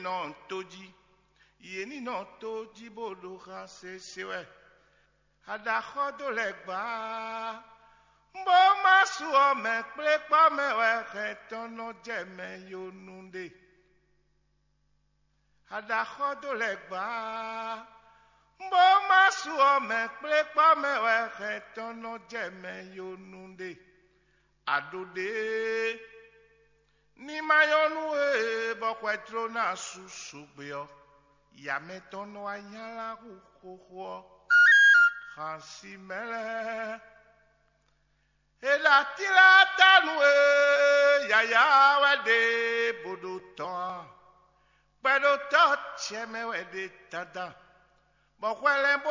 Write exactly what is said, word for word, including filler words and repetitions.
nɔ tó jí, yě ní nɔ tó jí bó ɖo xan sese wɛ. Aɖaxɔ́ dó lɛ́ gbǎ, bó má su ɔ́ mɛ kplé kpɔ́ mɛ wɛ hɛn tɔn nɔ jɛ mɛ yo nu ɖe. Aɖaxɔ́ dó lɛ́ gbǎ, bó má su ɔ́ mɛ kplé kpɔ́ mɛ wɛ hɛn tɔn nɔ jɛ mɛ yo nu ɖe. Aɖo ɖě ní ma nyɔ́ nú we bɔ xwɛ jló ná sú sǔgbe ɔ́, yǎ mɛtɔn nɔ wá nylá hú xóxó ɔ́. Xansi mɛ lɛ́ɛ, è ɖo atílátánu e yǎyá wɛ ɖe bó ɖo tɔn a? Kpɛɖotɔ́ ce mɛ wɛ ɖe dandan, bɔ hwɛ lɛ́n